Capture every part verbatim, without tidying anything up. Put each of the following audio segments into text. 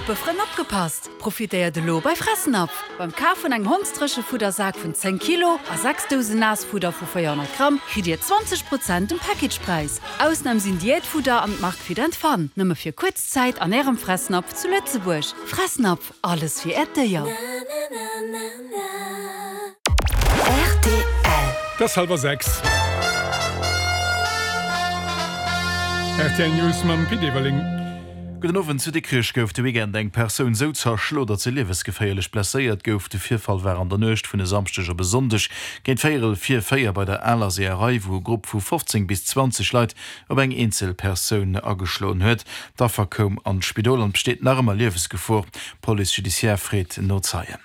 Muppefrënn opgepasst! Profitéiert elo bei Fressnapf! Beim Kaf vun engem Hondsdréchefuddersak vun zéng Kilo a sechs Dousen Naassfudder vu véierhonnert Gramm kritt Dir zwanzeg Prozent um Packagepräis. Ausnam sinn Diätfudder an d'Mark Fit and Fun. Nëmme fir kuerz Zäit an Ärem Fressnapf zu Lëtzebuerg. Fressnapf, alles fir Äert Déier. Rtl. Et ass hallwer sechs. Rtl News mam Pit Everling. Gudden Owend. Zu Dikrech gouf de Weekend eng Persoun sou zerschlo, datt se liewesgeféierlech blesséiert gouf. De Virfall war an der Nuecht vun e Samschdeg op e Sonndeg géint véierel vir véier bei der Aler Seeërei, wou e Grupp vu fofzéng bis zwanzeg Leit op eng eenzel Persoun ageschloen huet. D'Affer koum an d'Spidol an besteet nach ëmmer Liewesgefor. D'Police judiciaire freet no Zeien.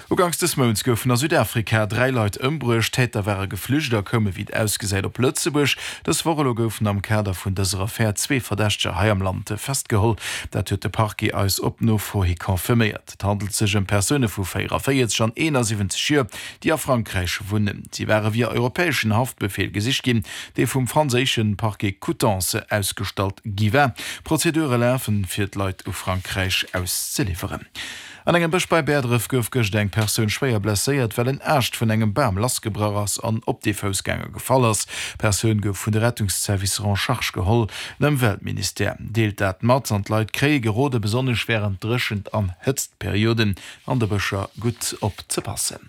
Uganks dës Mounts goufen a Südafrika dräi Leit ëmbruecht. D'Täter ware geflücht a koume wéi et ausgesäit op Lëtzebuerg. Dës Woch elo goufen am Kader vun dëser Affär zwee Verdächteger hei am Land festgeholl. Dat huet de Parquet eis op Nofro hi confirméiert. Et handelt sech ëm Persoune vu véieranvéierzeg an eenansiwwenzeg Joer, déi a Frankräich wunnen. Si ware via europäeschen Haftbefeel gesicht ginn, dee vum franséische Parquet Coutances ausgestallt gi war. Prozedure lafen, fir d'Leit u Frankräich auszeliwweren. An engem Bësch bei Bäerdref gouf gëscht eng Persoun schwéier blesséiert, well en Aascht vun engem Bam lassgebrach ass an op dee Foussgänger gefall ass. D'Persoun gouf vun de Rettungszervicer en charge geholl. Den Ëmweltministère deelt dat mat an d'Leit kréie gerode besonnesch wärend Dréchent an Hëtztperioden an de Bëscher gutt opzepassen.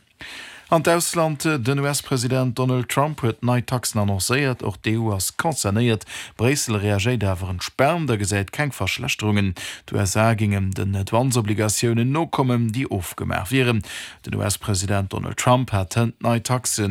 An d'Ausland, Den U S-President Donald Trump huet nei Taxen annoncéiert. Och d'E U ass concernéiert. Bréissel reagéiert awer entspaant a gesäit keng Verschlechterungen. D'U S A géingen den Douanesobligatiounen nokommen, déi ofgemaach wieren. Den U S-President Donald Trump hat hënt nei Taxe